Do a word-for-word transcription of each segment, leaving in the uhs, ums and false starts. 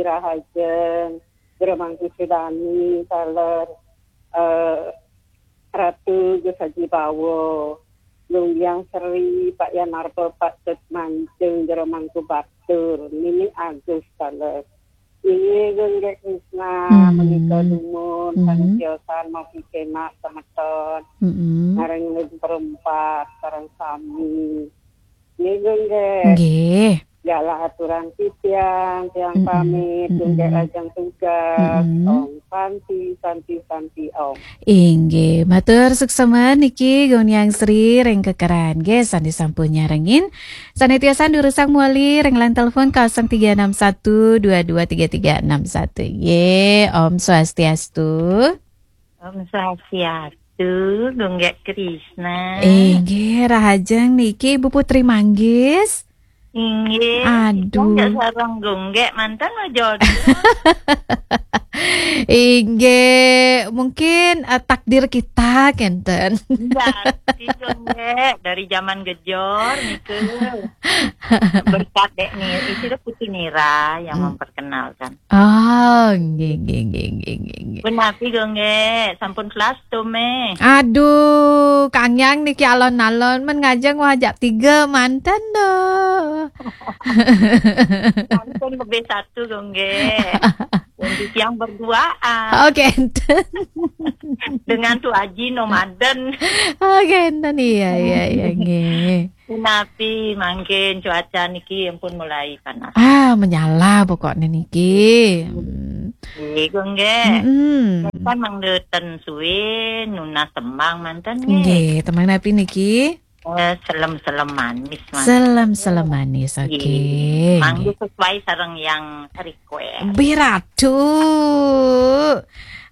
Rahajeng, Jero Mangku Sudani, taler, eh, Ratu Gus Haji Bawo, Lumbang Sri, Pak Yanarto, Pak Tet Mancung, Jero Mangku Batur, Nini Agus, taler. Inggih, Gung Gek Krisna, Hmm. menika dumun, Hmm. sané tiosan mogi kenak semeton, Hmm. ngareng ring perempat, sareng sami. Nggih, Gung Gek. Nggih. Jala aturan titiang, tiang Mm-mm. pamit, Gung Gek Mm-mm. lajeng tugas. Mm-mm. Om Santi, Santi, Santi, Om. Inggih, matur suksema niki Gung Yang Sri ring kekeran nggih sané sampun nyarengin. Sané tiosan durusang mawali ring line telepon kosong tiga enam satu dua dua tiga tiga enam satu. Nggih, Om Swastiastu. Om Swastiastu, Gung Gek Krisna. Inggih, rahajeng niki Ibu Putri Manggis. Inggih, Aduh. Gung Gek sareng Gung Gek manten lo jodoh. Inggih, mungkin, eh, takdir kita kenten. Iya, si Gung Gek dari zaman gejor niku. Berkat dek nih, itu Putu Nira yang Hmm. memperkenalkan. Oh, nggih, nggih, nggih, nggih, nggih, nggih. Punapi, Gung Gek, sampun kelas tuh, meh. Aduh, Kang Yang niki alon-alon men ngajeng wajak tiga manten doh. Sampun lebih satu, Gung Gek. Untuk yang berduaan. Oh, kenten. Dengan Tu Aji nomaden. Oh, kenten, iya, iya, iya, nggih. Punapi mangkin cuaca niki ampun mulai panas. Ah, menyala pokoknya niki. Hmm. Nggih, Gung Gek. Mm-mm. Kan mangdeten suwe nunas tembang manten nggih. Nggih, tembang napi niki? Eh, selem-selem manis manten. Selem-selem manis, Nggih. Oke. Mangga sesuai sareng yang request. Biratu.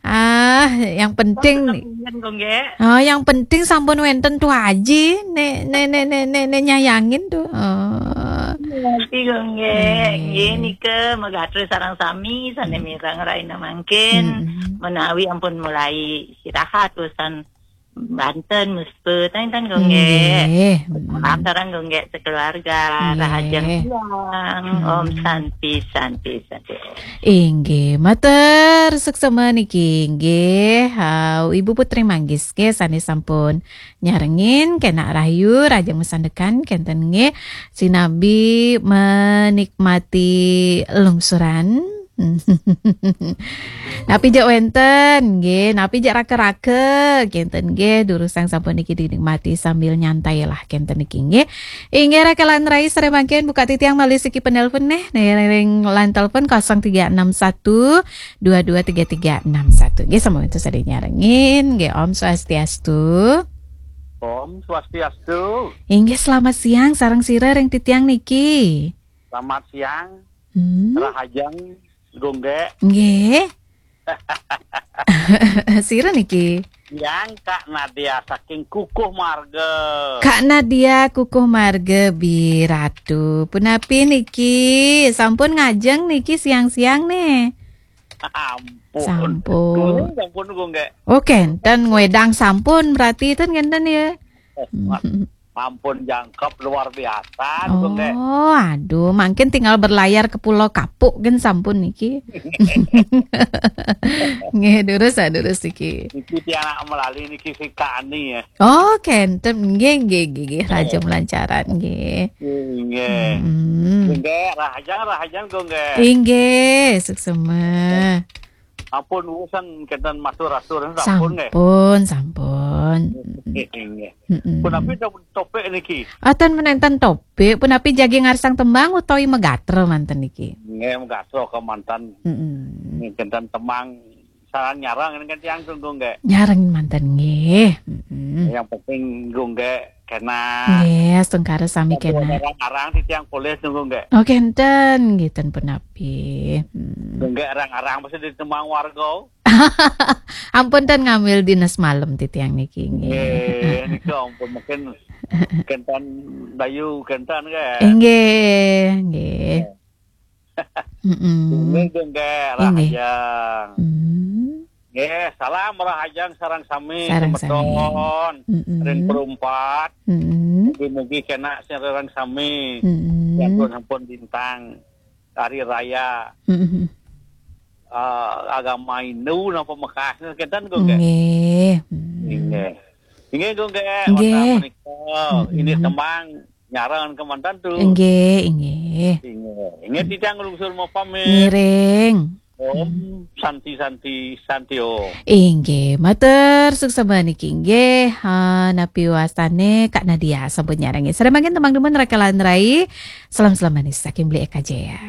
Ah, yang penting Sampun, Gung Gek. Oh, yang penting sampun wenten Tu Aji, nek, nek, nek, nek, nek, nek nyayangin tuh. Oh. Ngerti, Gung Gek. Nggih. Nggih, nika magatra sareng sami sané Hmm. mireng rahina mangkin. Hmm. Menawi ampun mulai istirahat usan banten, muspet, enten, Gung Gek. Nggih. Hmm. Salam sareng Gung Gek sekeluarga. Nggih. Rahajeng siang. Hmm. Om Santi, Santi, Santi. Inggih, matur suksema niki inggih. Ha, Ibu Putri Manggis nggih sané sampun nyarengin, kenak rahayu, rahajeng masandekan kenten nggih. Sinabi menikmati lungsuran. Napi jak wenten nggih, napi jak raka-raka kenten nggih, durusang sampun niki dinikmati sambil nyantai lah kenten niki nggih. Inggih, raka lan rai, sareng mangkin buka titiang malih siki penelpon neh. Neh, ring line telepon kosong tiga enam satu dua dua tiga tiga enam satu. Nggih, sampun wenten sané nyarengin. Nggih, Om Swastiastu. Om Swastiastu. Inggih, selamat siang, sareng sira ring titiang niki. Selamat siang. Hmm. Rahajeng, Gung Gek. Nggih. Sira niki? Yang Kak Nadia saking Kukuh Marga. Kak Nadia Kukuh Marga Biratu. Punapi niki? Sampun ngajeng niki siang-siang nih. Ampun. Sampun. Kuwi sampun, Gung Gek. Oh, kenten ngwedang sampun berarti ten kenten ya. Eh, ma-, mampun jangkep luar biasa, Gung Gek. Oh, aduh, mangkin tinggal berlayar ke Pulau Kapuk gen sampun niki. Nggih, durus, ah, durus niki. Niki tiang melali niki si Kak Ani ya. Oh, kenten. Nggih, nggih, nggih, nggih. Raja melancaran, nggih. Nggih. Hmm. Nggih, rahajeng, rahajeng, Gung Gek. Inggih, suksema. Ampun, urusan kenten matur-atur, sampun, nggih? Sampun, sampun. Nggih, nggih. Mm-mm. Punapi to-, topik niki? Aten menenten topik, punapi jagi ngarsang tembang utawi magatra manten niki? Nggih, magatra kemanten. Mm-mm. Nggih, kenten tembang sareng nyareng kan tiang tunggu nggih. Nyareng manten nggih. Mm-mm. Yang penting nggih kena. Nggih, astungkara sami kena. Arang-arang titiang polih tunggu nggih. Oh, kenten, nggih ten punapi. Hmm. Nggih arang-arang pasti ditemang warga. Ampun ten ngambil dinas malam titiang niki nggih. Nggih, nika ampun mungkin kenten dayu kenten nggih. Nggih, nggih. Nggih. Mm-mm. Inggih, nggih, Inggih. Rahajeng. Hmm. Nggih, salam rahajeng sareng sami, Sareng sami. semeton. Mm-mm. Ring perumpat. Mm-mm. Mugi-mugi kena sareng sami. Mm-mm. Sampun, sampun bintang. hari raya Mm-mm. uh, agama Hindu napa Mekah kenten kok nggih. Nggih. Hmm. Inggih. Inggih kok nggih. Nggih. Wonten menika ini Mm-mm. tembang nyarang kemanten tu. Nggih, nggih. Inggih. Inggih titiang nglungsur mapamit. Ngiring. Om Santi Santi Santi Om. Inggih, matur suksma niki inggih. Ha, napi wastane Kak Nadia sampun nyarengi. Sareng mangkin tembang dumun Rakalan Rai. Salam-salam manis saking Beli Eka Jaya.